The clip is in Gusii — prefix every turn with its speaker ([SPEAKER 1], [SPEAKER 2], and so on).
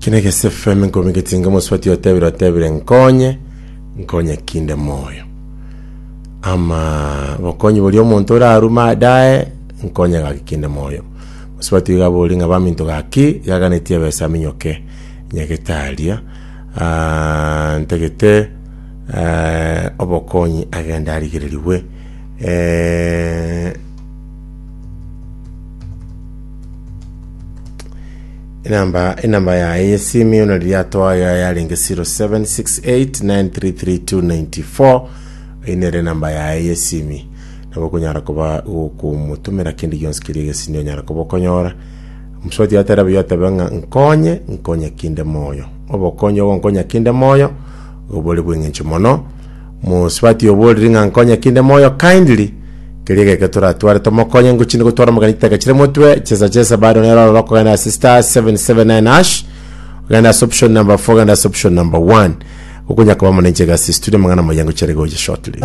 [SPEAKER 1] Eki negese FM nkomigetie inga omosubati otebire otebire nkonye, nkonye kinde moyo. Ama bokonyi boria omonto orarume adae, nkonye gaki kinde moyo. Mosubati oyo iga abori ng'a baminto gaki, iga aganetie ebesa aminyoke nyagetaria, ah, ntagete eh, obokonyi agende arigererigwe eh, Enamba enamba yaye y'esimi buna riria atoa yarenge 0768933294 eyio nere enamba yaye y'esimi nabo okonyara koba gokomotomera kende gionsi keria egesini onyara koba okonyora mosubati atera buya otebe ng'a nkonye nkonye kinde moyo obokonyi ogonkonya kinde moyo obore bw'eng'encho mono mosubati oborire ng'a nkonye kinde moyo kindly Keria egeke toratware tomokonye ngochinde gotwara omogeni chitaka chire motwe chesa chesa bado nero ororo okogenda ase star 779 hash ogende ase option number 4 ogende ase option number 1 okonya koba mono inche gasi studio amang'ana maya ngochia gocha shortly.